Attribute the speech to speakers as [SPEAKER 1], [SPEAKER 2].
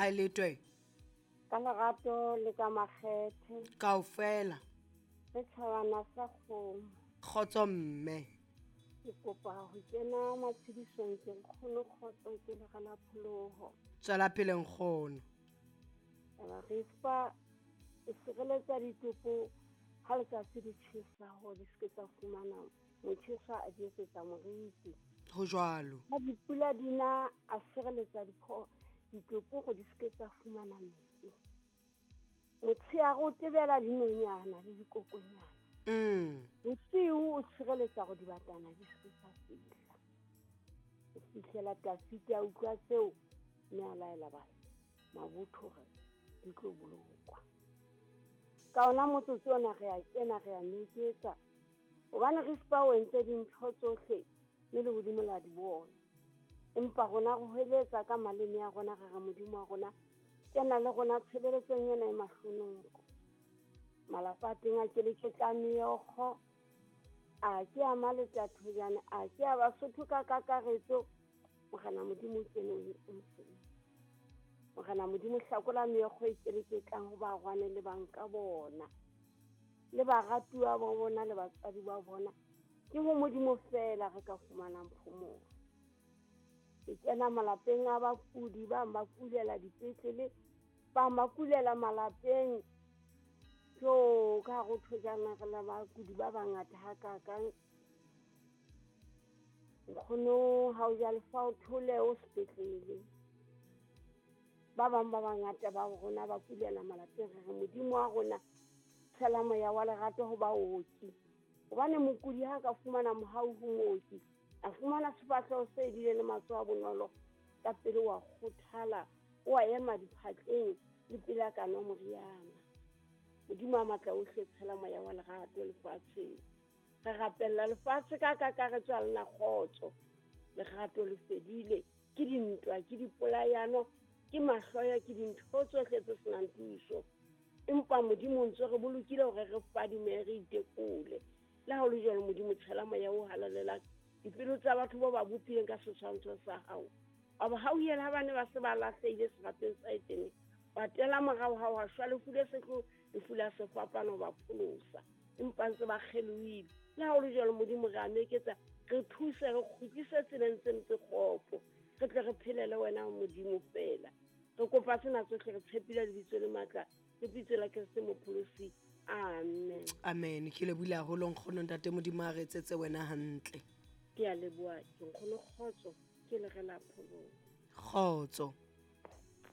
[SPEAKER 1] Ha e letwe.
[SPEAKER 2] Ka lerato le ka makgethe.
[SPEAKER 1] Kaofela.
[SPEAKER 2] Re tjhabana sa kgomo.
[SPEAKER 1] Kgotso mme.
[SPEAKER 2] Ke kopa ho kena matshedisong ke nkgono kgotso ke lera la pholoho.
[SPEAKER 1] Tswela pele nkgono.
[SPEAKER 2] Taba re fa e sireletsa ditopo ha letsatsi le tjhesa hore di seke tsa fumana motjheso a di etsetsa moriti.
[SPEAKER 1] Ho jwalo.
[SPEAKER 2] Ha dipula di na a sireletsa ditopo hore di seke tsa fumana metsi. Motshehare o tebela dinonyana le dikokonyana. Bosiu o tshireletsa hore dibatana di seke tsa fihla. Ho fihlela Tafita a utlwa tseo mme a laela ba mabotho hore di tlo bolokwa. Ka ona motsotso ona re a kena re a meketsa hobane Rispa o entse dintho tsohle mme lehodimo la di bona. Empa rona re hweletsa ka maleme a rona re re Modimo wa rona kena le rona tshebeletsong ena e mahlonoko. Malapa a teng a keleketla meokgo, a ke a Maletathojane, a ke a Basotho ka kakaretso. Morena Modimo o kene o mosebetsi. Morena Modimo hlakola meokgo e keleketlang ho barwane le banka bona, le baratuwa ba bona le batswadi ba bona. Ke ho Modimo feela re ka fumanang phomolo. Ke kena malapeng a bakudi, ba ba kulela dipetlele, ba ba kulela malapeng. Jo, ka hare ho Thojana re le bakudi ba bangata hakakang. Nkgono ha o ja lefa o thole o sepetlele. Ba bang ba bangata ba rona ba kulela malapeng, re re Modimo wa rona tshela moya wa lerato ho baoki. Hobane mokudi ha ka fumana mohau ho mooki, a fumana sefahleho se edileng le matsoho a bonolo, ka pele wa kgothala, o a ema diphatleng le pele a ka nwa moriana. Modimo a matla ohle tshela moya wa lerato lefatsheng. Re rapella lefatshe ka kakaretso a lena kgotso. Lerato le fedile, ke dintwa, ke dipolayano, ke mahloya, ke dintho tsohle tse senang thuso. Empa Modimo o ntse re bolokile hore re fadime, re itekole. Le ha ho le jwalo, Modimo tshela moya o halalelang dipelo tsa batho ba ba bopileng ka setshwantsho sa hao. Wa ba hauhela ha ba ne ba se ba lahlehile serapeng sa Etene, ba tela morao ha wa shwa lefu le sehloho, lefu la sefapano ba pholosa. Empa ntse ba kgelohile. Le ha ho le jwalo, Modimo re a meketsa, re thuse, re kgutlise tseleng tse ntse kgopo, re tle re phelele wena Modimo feela. Re kopa tsena tsohle re tshepile lebitso le matla, lebitso la Kreste Mopholosi. Amen.
[SPEAKER 1] Amen. Ke lebohile haholo nkgono ntate Modimo a re etsetse wena hantle.
[SPEAKER 2] Ke a leboha, ke nkgono kgotso, ke le re la pholoho.
[SPEAKER 1] Kgotso.